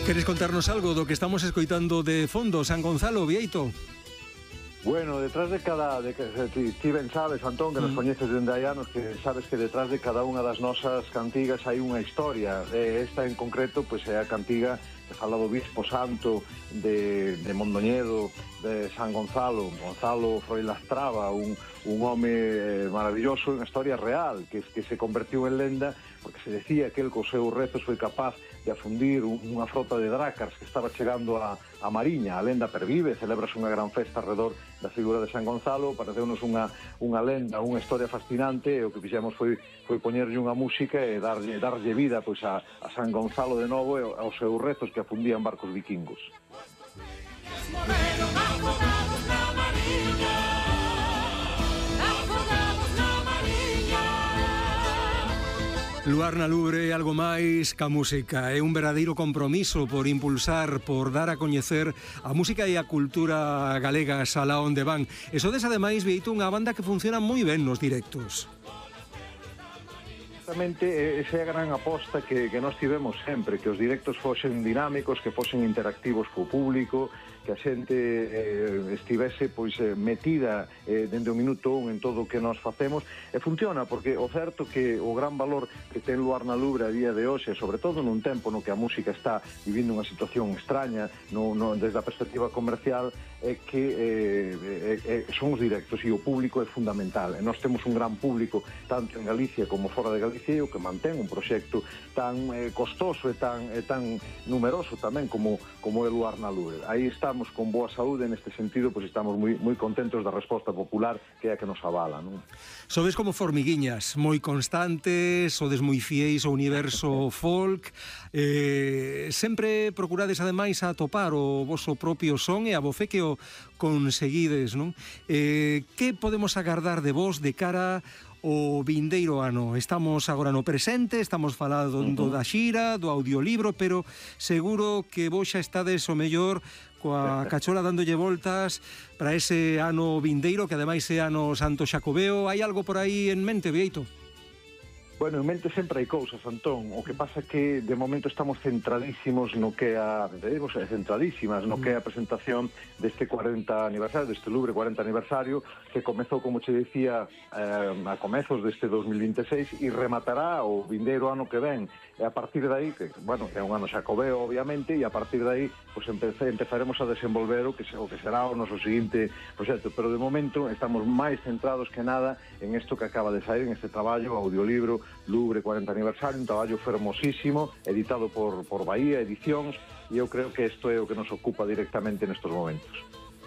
Queres contarnos algo do que estamos escoitando de fondo, San Gonzalo, Bieito? Bueno, detrás de cada... ti ben sabes, Antón, que nos coñeces dende hai anos, que sabes que detrás de cada unha das nosas cantigas hai unha historia. Esta en concreto, pois é a cantiga que fala do Bispo Santo de Mondoñedo, de San Gonzalo, Gonzalo Froilastrada, un home maravilloso, unha historia real, que se convertiu en lenda, porque se decía que el cos seus rezos foi capaz de afundir unha frota de drácars que estaba chegando a Mariña. A lenda pervive, celebrase unha gran festa alrededor da figura de San Gonzalo, pareceunos unha lenda, unha historia fascinante, e o que fixemos foi poñerlle unha música e darlle vida pois a San Gonzalo de novo e aos seus rezos que afundían barcos vikingos. Luar na Lubre é algo máis ca música, é un verdadeiro compromiso por impulsar, por dar a coñecer a música e a cultura galegas alá onde van. E sodes ademais, Bieito, unha banda que funciona moi ben nos directos. Exactamente, esa é a gran aposta que nós tivemos sempre, que os directos fosen dinámicos, que fosen interactivos co público, que a xente estivese pois metida dende o minuto un en todo o que nós facemos, e funciona, porque o certo que o gran valor que ten Luar na Lubre a día de hoxe, sobre todo nun tempo no que a música está vivindo unha situación extraña desde a perspectiva comercial, é que son os directos e o público é fundamental, e nós temos un gran público tanto en Galicia como fora de Galicia, o que mantén un proxecto tan costoso e tan numeroso tamén como é Luar na Lubre. Aí estamos con boa saúde, neste sentido, pois estamos moi contentos da resposta popular, que é a que nos avala, non? Sodes como formiguiñas, moi constantes, sodes moi fieis ao universo folk, sempre procurades ademais atopar o voso propio son e a voce que o conseguides, non? Que podemos agardar de vos de cara o vindeiro ano? Estamos agora no presente, estamos falando da xira, do audiolibro, pero seguro que vos xa estades o mellor coa cachola dándolle voltas para ese ano vindeiro, que ademais é ano Santo Xacobeo. Hai algo por aí en mente, Bieito? Bueno, en mente sempre hai cousas, Antón. O que pasa que de momento estamos centradísimos no que a presentación deste 40 aniversario, deste Lubre 40 aniversario, que comezou, como che decía, a comezos deste 2026 e rematará o vindeiro ano que ven. E a partir de aí, que, bueno, é un ano xacobeo, obviamente, e a partir de aí pues, empezaremos a desenvolver o que será o noso seguinte proxecto. Pero de momento estamos máis centrados que nada en isto que acaba de sair, en este traballo, audiolibro Lubre 40 aniversario, un traballo fermosísimo, editado por Bahía Edicións, e eu creo que isto é o que nos ocupa directamente nestes momentos.